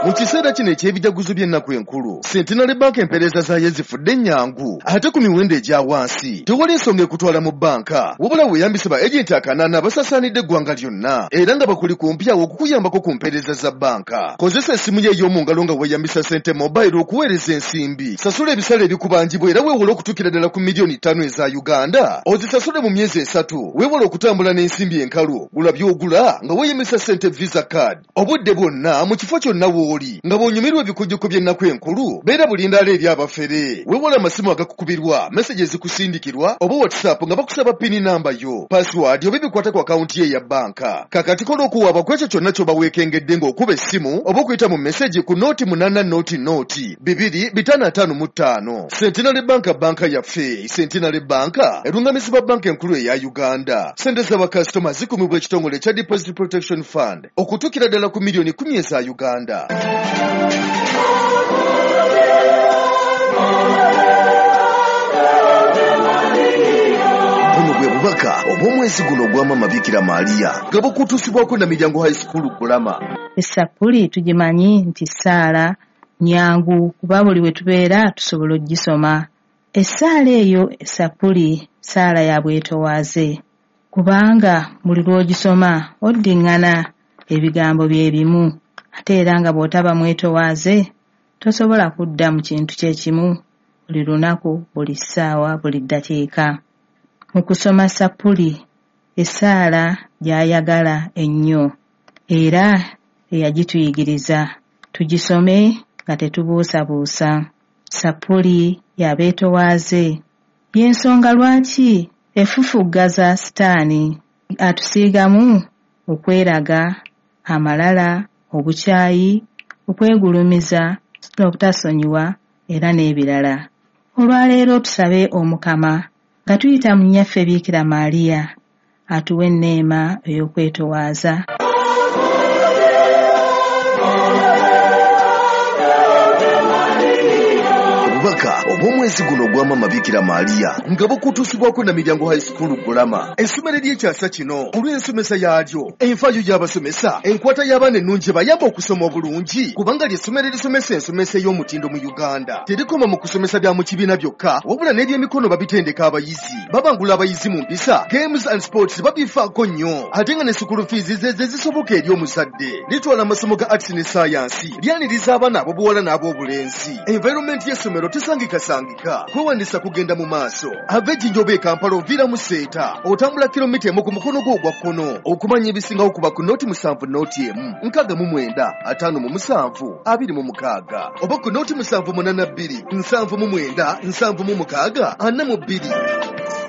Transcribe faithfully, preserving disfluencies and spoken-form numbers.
Mu kiseera kino eky'ebijaguzo by'ennaku enkulu, Centenary Bank empeereza zaayo zifudde ennyangu ate ku miwendo egya wansi. Tewali nsonga ekutwala mu bbanka, wabula weeyambise ba agenti akanaana abasaasaanidde eggwanga lyonna era nga bakuli kumpi awo okukuyambako ku mpeereza za bbanka. Kozesa essimu yo ey'omu ngalo nga weeyambisa Sente Mobile okuweereza ensimbi. Sasula ebisale ebikubanjibwa era weewole okutuukira ddala ku miliyoni ttaano eza Uganda. Ozisasule mu myezi esatu. Weewale okutambula n'ensimbi enkalu. Gula by'ogula nga weeyambisa Sente Visa Card. Obudde bwonna mu kifo kyonna w'oli nga bw'onyumirwa ebikujjuko by'ennaku enkulu, beera bulindaala eri abafere. Weewale amasimu agakukubirwa, meseji ezikusindikirwa oba WhatsApp nga bakusaba PIN namba yo, password oba ebikwata ku akawunti ye eya bbanka. Kakati kola okuwaaba ku ekyo kyonna ky'oba weekengedde ng'okuba essimu oba okuyita mu meseji ku nooti munaana nooti nooti bibiri bitaano ataano mu ttaano. Centenary Bank bbanka yaffe. Centenary Bank erungamizibwa bbanka enkulu eya Uganda. Ssente z'abakasitoma zikuumibwa ekitongole ekya Deposit Protection Fund okutuukira ddala ku miliyoni kkumi eza Uganda. Buno bwe bubaka obw'omwezi guno ogwa Maama Bikira Maria nga bukutuusibwako Namiryango High School Gulama. Essapuli tugimanyi nti ssaala nyangu kuba buli we tubeera tusobola okugisoma. Essaala eyo essapuli ssaala ya bwetowaaze kubanga buli lw'ogisoma oddiŋŋana ebigambo bye bimu ate era nga bw'otaba mwetowaaze tosobola kudda mu kintu kye kimu buli lunaku, buli ssaawa, buli ddakiika. Mu kusoma ssapuli essaala gy'ayagala ennyo era eyagituyigiriza tugisome nga tetubuusabuusa. Ssapuli ya beetowaaze y'ensonga lwaki efufuggaza Sitaani atusiigamu okweraga, amalala, obukyayi, okwegulumiza, obutasonyiwa era n'ebirala. Olwaleero tusabe Omukama nga tuyita mu nnyaffe Bikira Maria atuwe enneema ey'okwetowaaza. Obubaka obw'omwezi guno ogwa Maama Bikira Maria nga bukutuusibwako Namiryango High School Gulama, essomero ery'ekyasa kino olw'ensomesa yaalyo, enfaayo y'abasomesa, enkwata y'abaana ennungi ebayamba okusoma obulungi kubanga ly'essomero erisomesa ensomesa ey'omutindo mu Uganda. Terikoma mu kusomesa bya mu kibiina byokka wabula n'ebyemikono babitendeka abayizi, babangula abayizi mu mpisa, games and sports babifaako nnyo ate nga ne school fees ze ze zisoboka eri omuzadde. Litwala amasomo ga arts ne science, lyaniriza abaana ab'obuwala n'ab'obulenzi. Environment y'essomero tesangikasangika, kwewandiisa kugenda mu maaso. Ava Ejjinja oba e Kampala oviira mu Seeta, otambula kilomita emu ku mukono gwo ogwa kkono. Okumanya ebisingawo kuba ku nooti musanvu nooti emu nkaaga mu mwenda ataano mu musanvu abiri mu mukaaga oba ku nooti musanvu munaana bbiri nsanvu mu mwenda nsanvu mu mukaaga ana mu bbiri.